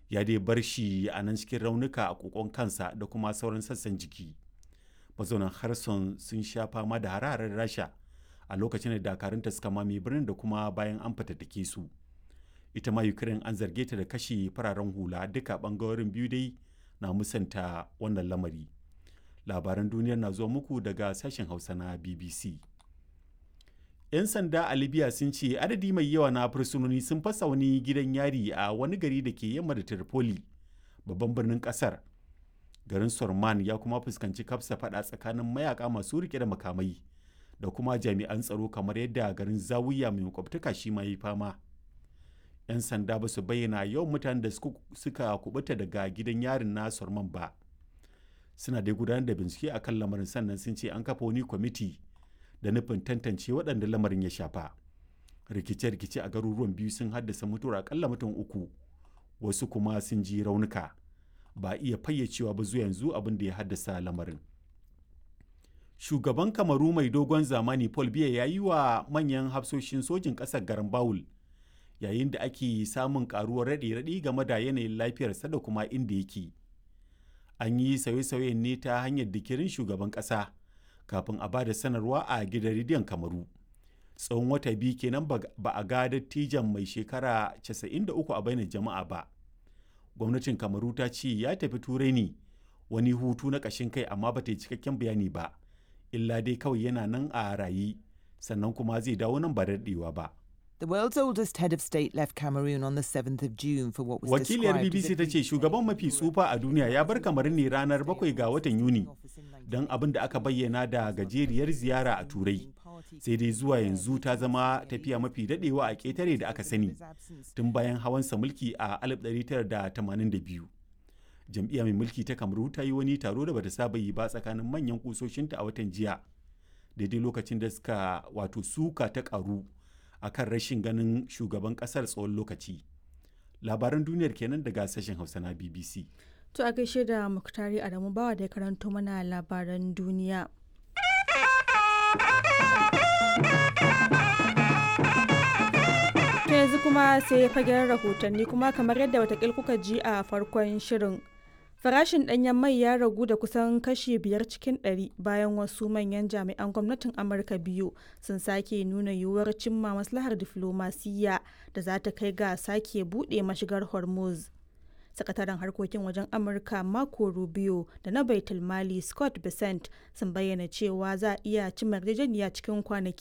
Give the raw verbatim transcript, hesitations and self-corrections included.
Ya dai bar shi a nan cikin raunuka a kokon kansa da kuma sauran sassan jiki. Mazaunan Kherson sun sha fama da hare-haren Rasha a lokacin da dakarunta suka mame birnin da kuma bayan an fatattake su. Ita ma Ukraine an zarge ta da kashe fararen hula. Duka bangarorin biyu dai na musanta wannan lamari. Labaran duniyar na zuwa muku daga sashen Hausa na B B C. 'Yan sanda a Libya sun ce adadi mai yawa na fursunoni sun fasa wani gidan yari a wani gari da ke yamma da Tripoli, babban birnin kasar. Garin Sorman ya kuma fuskanci kafsa fada tsakanin mayaka masu rike da makamai da kuma jami'an tsaro, kamar yadda garin Zawiya mai makwabtaka shi ma yi fama. 'Yan sanda ba su bayyana yawan mutanen da suka kubuta daga gidan yarin na Sorman ba. Suna dai gudanar da bincike akan lamarin, sannan sun ce an kafa wani kwamiti da nufin tantance waɗanda lamarin ya shafa. Rikice-rikice a garuruwan biyu sun haddasa mutuwar akalla mutum uku, wasu kuma sun ji raunuka. Ba iya fayyacewa ba zuwa yanzu abin da ya haddasa lamarin. Shugaban Kamaru mai dogon zamani Paul Biya ya yi wa manyan hafsoshin sojin ƙasar garin Bawul, yayin da ake samun karuwar raɗe-raɗi game da yanayin lafiyarsa da kuma inda yake. An yi sauye-sauyen ne ta hanyar dikirin shugaban ƙasa kafin a ba da sanarwa a gidan rediyon Kamaru. Tsawon wata biyu kenan ba a ga dattijan mai shekara casa'in da uku a bainar jama'a ba. Gwamnatin Kamaru ta ce ya tafi Turai ne wani hutu na ƙashin kai, amma ba ta yi cikakken bayani ba, illa dai kawai yana nan a raye, sannan kuma zai dawo nan ba daɗewa ba. The world's oldest head of state left Cameroon on the seventh of June for what was Wakiliyar described as B B C a ta ce shugaban mafi tsufa a duniya ya bar Kamaru ne ranar bakwai ga watan Yuni don abin da aka bayyana da gajeriyar ziyara a Turai. Sai dai zuwa yanzu ta zama tafiya mafi dadewa a ƙetare da aka sani tun bayan hawansa mulki a alif ɗari tara da tamanin da biyu. Jam'iyya mai mulki ta Kamaru ta yi wani taro da bata saba yi ba tsakanin manyan kusoshinta a watan jiya, daidai lokacin da suka wato suka ta karu akan rashin ganin shugaban kasar tsawon lokaci. Labaran duniyar kenan daga sashen Hausa na B B C. To, a gaishe da Muktari Adamu Bawa da ya karanto mana labaran duniya. To, yanzu kuma sai fagen rahotanni, kuma kamar yadda watakil kuka ji a farkon shirin. Farashin ɗanyen mai ya ragu da kusan kashi biyar cikin ɗari bayan wasu manyan jami'an gwamnatin Amurka biyu sun sake nuna yiwuwar cimma maslahar diflomasiyya da za ta kai ga sake buɗe mashigar Hormuz. Sakataren harkokin wajen Amurka Marco Rubio da na Baitul Mali Scott Bessent sun bayyana cewa za a iya cimma yarjejeniya cikin kwanaki